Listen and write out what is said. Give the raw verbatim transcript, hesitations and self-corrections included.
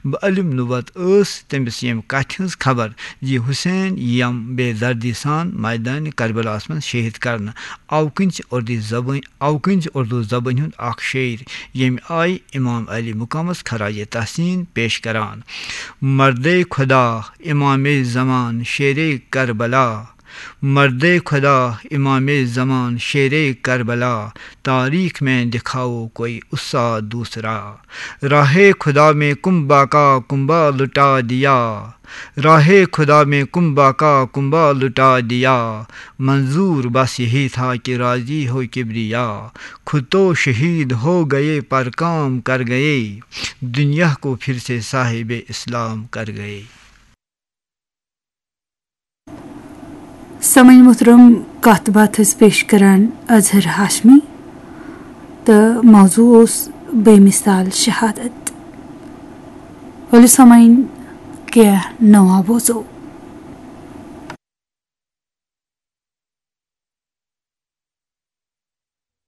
بہٕ علم نبوت ٲس تٔمِس ییٚمہِ کتھِ ہٕنٛز خبر زِ حسین یِم بے دردی سان میدان کربلاہس منٛز شہید کرنہٕ۔ اوٕ کِنۍ چھِ اردو زبٲنۍ، اوٕ کِنۍ چھِ اردو زبٲنۍ ہُنٛد اکھ شٲعر، ییٚمہِ آیہِ امام علی مقامس خراج تحسین پیش کران۔ مردے خدا، امام زمان، شیر کربلا، مردے خدا، امام زمان، شیر کربلا، تاریخ میں دکھاؤ کوئی استاد دوسرا۔ راہ خدا میں کنبہ کا کنبہ لٹا دیا، راہ خدا میں کنبہ کا کنبہ لٹا دیا۔ منظور بس یہی تھا کہ راضی ہو کبریا، خود تو شہید ہو گئے پر کام کر گئے، دنیا کو پھر سے صاحب اسلام کر گئے۔ سامعین محترم، کتھ باتھ ٲسۍ پیش کران اظہر ہاشمی تہٕ موضوع اوس بے مثال شہادت۔ ؤلِو سامعین، کینٛہہ نوان بوزو۔